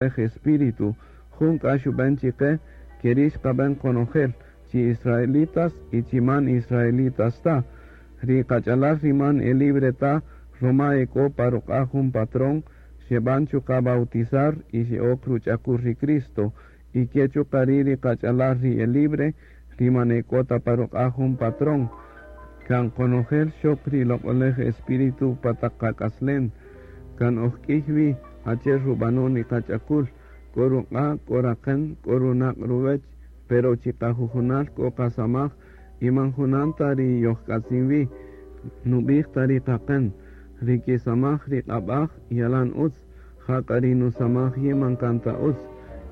Espíritu, jun k'a xub'en chiqe keri' xqab'en qonojel, chi israelitas y chi man israelitas ta. Ri qach'alal ri man e libre ta roma e k'o pa ruq'a' jun patrón, xeb'an chuqa' bautizar y xe'ok ruch'akul ri Cristo, y ke chuqa' ri' ri qach'alal ri e libre, ri man e k'o ta pa ruq'a' jun patrón. Kan qonojel xok ri loq'olej Espíritu pa taq qak'aslen, kan oj k'iy wi achi'el rub'anon ri qach'akul, k'o ruq'a', k'o raqen, k'o runaq' ruwech, pero chiqajujunal k'o qasamaj y man junan ta ri yojk'atzin wi, nub'ij ta ri qaqen, ri kisamaj ri q'ab'aj yalan utz, jak'a ri nusamaj yin man kan ta utz,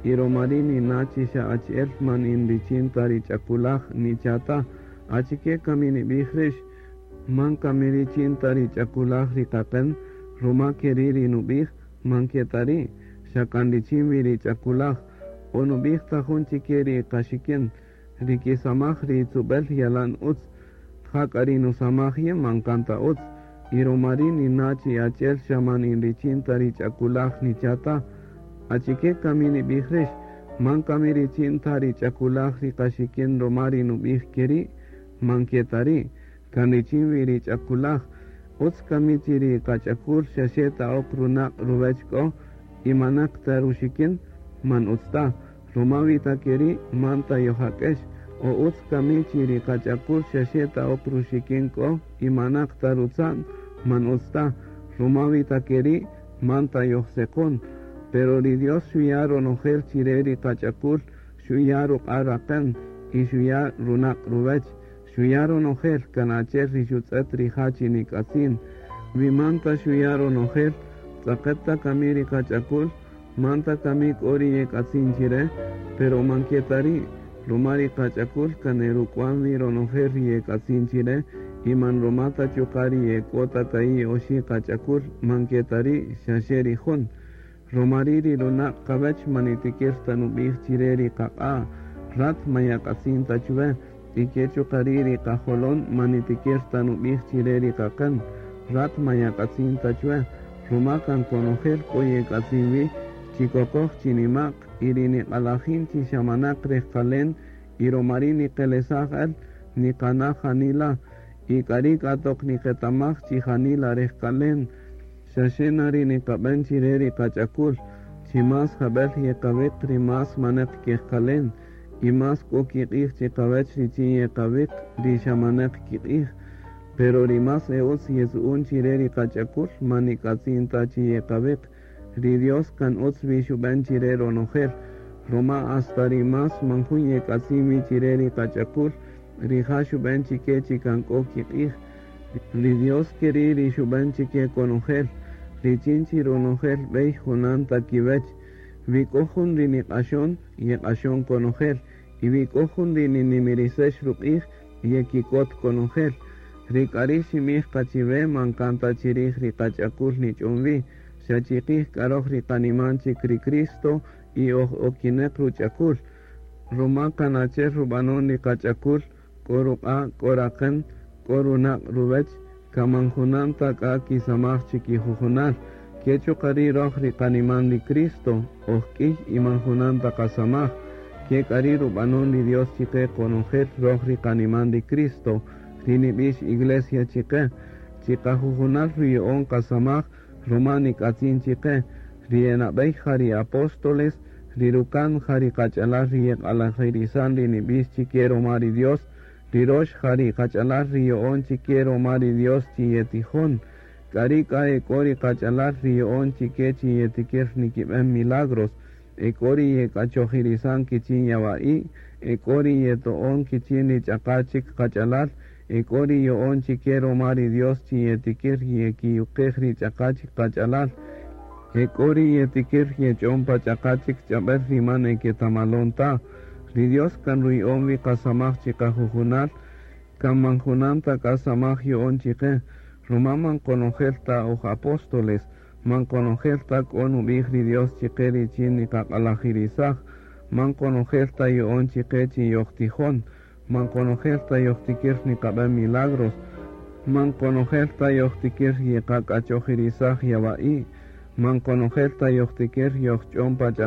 y roma ri' nina' chi xa achi'el man in richin ta ri ch'akulaj nicha' ta, achike kami nib'ij rix, man kami richin ta ri ch'akulaj ri qaqen, roma keri' ri nub'ij, man ke ta ri', xa kan richin wi ri ch'akulaj, o nub'ij ta jun chike ri qaxikin, ri kisamaj ri tzub'el yalan utz, jak'a ri nusamaj yin man kan ta utz, y roma ri' nina' chi achi'el xa man in richin ta ri ch'akulaj nicha' ta, achike kami nib'ij rix, man kami richin ta ri ch'akulaj ri qaxikin roma ri nub'ij keri', man ke ta ri', kan richin wi ri ch'akulaj, utz kami chi ri qach'akul xaxe ta ok runaq' ruwech k'o y manaq ta ruxikin, man utz ta, roma wi ta keri' man ta yojak'ex, o utz kami chi ri qach'akul xaxe ta ok ruxikin k'o y manaq ta rutza'n, man utz ta, roma wi ta keri' man ta yojseqon, pero ri Dios xuya' ronojel chire ri qach'akul, xuya' ruq'a' raqen y xuya' runaq' ruwech, xuya' ronojel kan achi'el ri xutz'et rija' chi nik'atzin, wi man ta xuya' ronojel, tz'aqet ta kami ri qach'akul, man ta kami k'o ri yek'atzin chire, pero man ke ta ri', roma ri qach'akul kan eruk'wan wi ronojel ri yek'atzin chire, y man roma ta chuqa' ri ek'o ta ka'i' oxi' qach'akul, man ke ta ri', xaxe ri jun. Roma ri' ri runaq' qawech man nitikir ta nub'ij chire ri qaq'a', rat man yak'atzin ta chuwe, y ke chuqa' ri' ri qajolon man nitikir ta nub'ij chire ri qaqen, rat man yak'atzin ta chuwe, roma kan konojel k'o yek'atzin wi, chi kokoj chi nima'q, y ri niq'alajin chi xa manaq rejqalen, y roma ri' niqelesaj el, niqana' janila, y k'ari' k'a toq niqetamaj chi janila rejqalen, xaxe na ri niqab'en chire ri qach'akul, chi más jab'el yeqawiq ri más manaq kejqalen, y más k'o kiq'ij chiqawech richin yeqawiq ri xa manaq kiq'ij, pero ri más e utz yetzu'un chire ri qach'akul man nik'atzin ta chi yeqawiq, ri Dios kan utz wi xub'en chire ronojel, roma hasta ri más man jun yek'atzin wi chire ri qach'akul, rija' xub'en chike chi kan k'o kiq'ij, ri Dios keri' ri xub'en chike konojel, richin chi ronojel b'ey junan ta kiwech, wi k'o jun ri niq'axon, yeq'axon konojel, y wi k'o jun ri ninimirisex ruq'ij, yekikot konojel, ri k'ari' ximij qa chiwe man kan ta chirij ri qach'akul nich'on wi, xa chiqij k'a roj ri qaniman chik ri Cristo y oj okineq ruch'akul, roma kan achi'el rub'anon ri qach'akul, k'o ruq'a', k'o raqen, k'o runaq' ruwech, kan man junan ta k'a kisamaj chikijujunal, ke chuqa' ri' roj ri qaniman ri Cristo, oj k'iy y man junan ta qasamaj, ke k'a ri' rub'anon ri Dios chiqe qonojel roj ri qaniman ri Cristo, ri nib'ix iglesia chiqe, chiqajujunal ruya'on qasamaj, roma nik'atzin chiqe, ri enab'ey ja ri apóstoles, ri rukan ja ri qach'alal ri yeq'alajirisan ri nib'ix chike roma ri Dios, ri rox ja ri qach'alal ri yo'on chike roma ri Dios chi yetijon, k'ari' k'a ek'o ri qach'alal ri yo'on chike chi yetikir nikib'en milagros, ek'o ri yek'achojirisan kichin yawa'i', ek'o ri yeto'on kichin ri ch'aqa chik qach'alal, ek'o ri yo'on chike roma ri Dios chi yetikir yekiyuqej ri ch'aqa chik qach'alal, ek'o ri yetikir yech'on pa ch'aqa chik ch'ab'el ri man eketamalon ta, ri Dios kan ruya'on wi qasamaj chiqajujunal, kan man junan ta k'a samaj yo'on chiqe, roma man qonojel ta oj apóstoles, man qonojel ta k'o nub'ij ri Dios chiqe richin niqaq'alajirisaj, man qonojel ta yo'on chiqe chi yojtijon, man qonojel ta yojtikir niqab'en milagros, man qonojel ta yojtikir yeqak'achojirisaj yawa'i', Man qonojel ta yojtikir yojch'on pa ch'ab'äl.